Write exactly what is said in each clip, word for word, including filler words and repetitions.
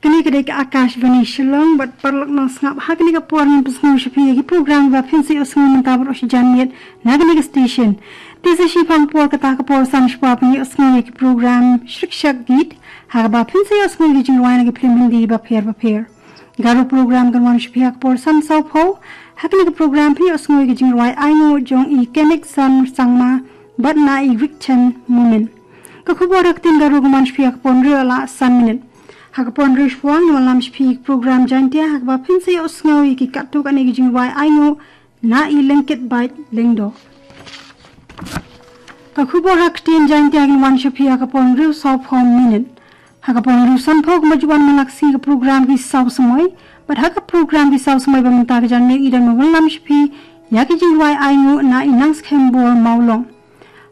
Kane ka dei ka Akashvani Shillong, bad paralok nongsngap, ha kane ka por ngin pynsngew sha phi ïa ki program ba phin sa ïohsngew mynta bad ruh shi janmiet na kane ka station. Te sa shipang por kata ka por san shwa phin ïohsngew ïa ki program Shriksha Geet, ha kaba phin sa ïohsngew ïa ki jingrwai na ki film Hindi bapher bapher. Garo program kan wan sha phi ha ka por san saw phew. Ha kane ka program phin ïohsngew ïa ki jingrwai Ainguh jong i Kenneth Sangma bad na i Rikchen Momin. Ka khubor ha ka ktien Garo kan wan sha phi ha ka por hynriew la san minit. Ha ka por hynriew shwa ngin wallam sha phi ïa ka program Jaintia, ha kaba phin sa ïohsngew ïa ki katto katne ki jingrwai Ainguh na i Lengkitbait Lyngdoh. Ka khubor ha ka ktien Jaintia kan wan sha phi ha ka por hynriew saw phew minit. Ha ka por hynriew san phew kumba ju wan man la ka sngi ka program Ki Saw Samoi. Bad ha ka program Ki Saw Samoi ba mynta ka janmiet ngi dang wallam sha phi ïa ki jingrwai Ainguh na i Nangskhem Bor Mawlong.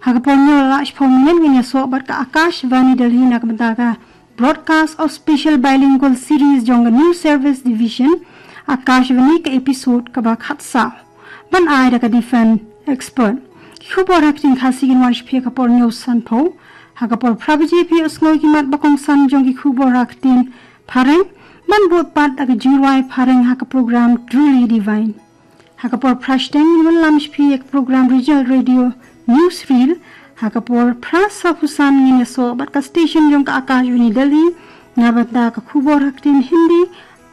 Ha ka por hynñiew la shiphew minit ngin ïasoh bad ka Akashvani Delhi na ka bynta ka Broadcast of Special Bilingual Series jong ka News Service Division, Akashvani, ka episode kaba khatsaw, ban ai da ka Defense Expert. Ki khubor ha ka ktien Khasi kin wan sha phi ha ka por hynñiew san phew. Ha ka por phra baje phi ïohsngew ki mat ba kongsan jong ki khubor ha ka ktien Phareng, ban bud pat da ka jingrwai Phareng ha ka program Truly Divine. Ha ka por phra shiteng ngin wallam sha phi ïa ka program Regional Radio Newsreel. Ha ka por phra saw phew san ngin ïasoh bad ka station jong ka Akashvani Delhi na bynta ka khubor ha ka ktien Hindi,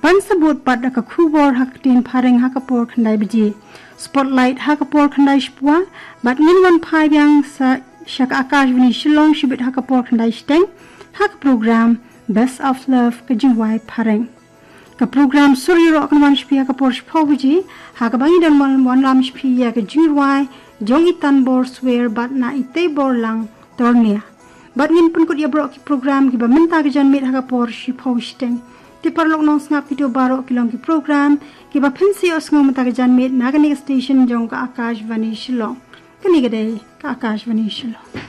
ban sa bud pat da ka khubor ha ka ktien Phareng ha ka por khyndai baje. Spotlight ha ka por khyndai shiphew, bad ngin wan phai biang sa sha ka Akashvani Shillong shibit ha ka por khyndai shiteng, ha ka program Best of Love, ka jingrwai Phareng. Ka program Sur Ïaroh kan wan sha phi ha ka por shiphew baje, ha kaba ngi dang wan wallam sha phi ïa ka jingrwai jong i Tanbor Swer bad na i Teiborlang Tornia. Bad ngin pynkut ïa baroh ki program kiba mynta ka janmiet ha ka por shiphew shiteng. Te paralok nongsngap, kito baroh ki long ki program kiba phin sa ïohsngew mynta ka janmiet na kane ka station jong ka Akashvani Shillong. Kane ka dei ka Akashvani Shillong.